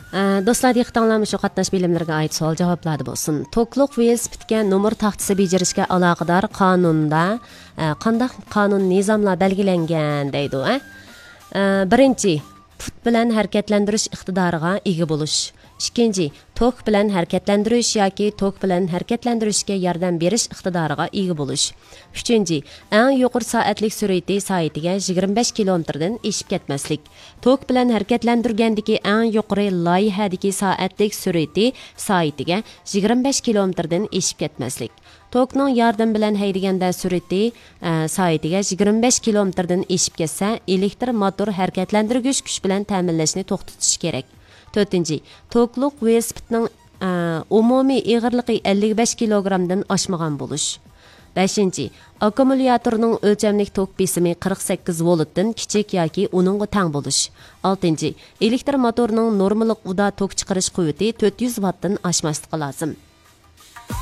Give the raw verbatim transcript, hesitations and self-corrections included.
ئە، دوستلار، دىققىتىڭلار مۇشۇ قاتناش بىلىملىرىگە ئائىت سوئال جاۋابلاردا بولسۇن. توكلۇق ۋېلىسىپىتكە نومۇر تاختىسى بېجىرىشكە ئالاقىدار قانۇندا، ئە، قانداق قانۇن نىزاملار بەلگىلەنگەن دەيدۇ، ئە؟ ئە، بىرىنچى، پۇت بىلەن ھەرىكەتلەندۈرۈش ئىقتىدارىغا ئىگە بولۇش. ئىككىنچى، توك بىلەن ھەرىكەتلەندۈرۈش ياكى توك بىلەن ھەرىكەتلەندۈرۈشكە ياردەم بېرىش ئىقتىدارىغا ئىگە بولۇش. ئۈچىنچى، ئەڭ يۇقىرى سائەتلىك سۈرئىتى سائىتىگە يىگىرمە بەش كىلومېتىردىن ئېشىپ كەتمەسلىك. توك بىلەن ھەرىكەتلەندۈرگەندىكى ئەڭ يۇقىرى لايىھەدىكى سائەتلىك سۈرئىتى سائىتىگە يىگىرمە بەش كىلومېتىردىن ئېشىپ كەتمەسلىك. توكنىڭ ياردىمى بىلەن ھەيدىگەندە سۈرئىتى، ئە، سائىتىگە يىگىرمە بەش كىلومېتىردىن ئېشىپ كەتسە، ئېلېكتر موتور ھەرىكەتلەندۈرگۈچ كۈچ بىلەن تەمىنلەشنى توختىتىش كېرەك. تۆتىنچى، توكلۇق ۋېلىسىپىتنىڭ، ئە، ئومۇمىي ئېغىرلىقى ئەللىك بەش كىلوگرامدىن ئاشمىغان بولۇش. بەشىنچى، ئاككۇمۇلياتورنىڭ ئۆلچەملىك توك بېسىمى قىرىق سەككىز ۋولتتىن كىچىك ياكى ئۇنىڭغا تەڭ بولۇش. ئالتىنچى، ئېلېكتر موتورنىڭ نورمىلىق ئۇدا توك چىقىرىش قۇۋۋىتى تۆت يۈز ۋاتتىن ئاشماسلىقى لازىم.